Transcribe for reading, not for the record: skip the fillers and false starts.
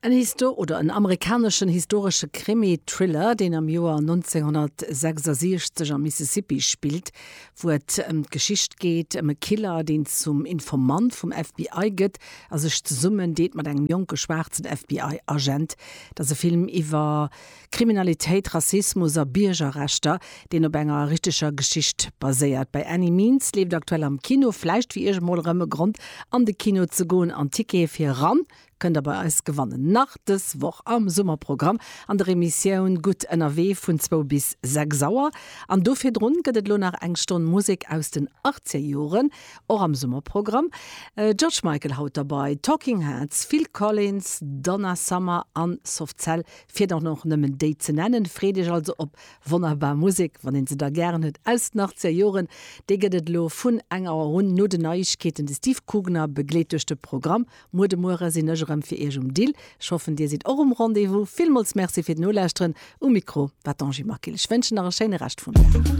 En Histo oder en amerikaneschen historesche Krimi-Thriller, deen am Joer 1966 am Mississippi spillt, wou et ëm d'Geschicht geet ëm e Killer, deen zum Informant vum FBI gëtt a sech zesummen deet mat engem jonke schwaarzen FBI-Agent. Et ass e Film iwwer Kriminalitéit, Rassismus a Biergerrechter, deen op enger richteger Geschicht baséiert. By Any Means leeft aktuell am Kino. Vläicht fir Iech emol erëm e Grond an de Kino ze goen an Tickete fir eran kënnt der bei eis gewannen. Nach dës Woch am Summerprogramm an der Emissioun Gutt ënnerwee vun zwou bis 6 Auer. An do virdrun gëtt et elo nach eng Stonn Musek aus den Achtzegerjoren, och am Summerprogramm. George Michael haut derbei, Talking Heads, Phil Collins, Donna Summer an Soft Cell Fir dann och nëmmen déi ze nennen. Freet iech also op wonnerbar Musek, wann een se da gären huet, aus den 80er Joren. Déi gëtt et elo vun eng Auer un no den Neiegkeeten. De Steve Kugner begleet duerch de Programm. Muer de Muere sinn ech erëm fir iech um Dill. Ech hoffen dir sidd och um Rendez-vous. Villmools Merci fir d'Nolauschteren. Um Mikro war d'Angie Maquil. Ech wënschen nach e schéine Rescht vum Dag.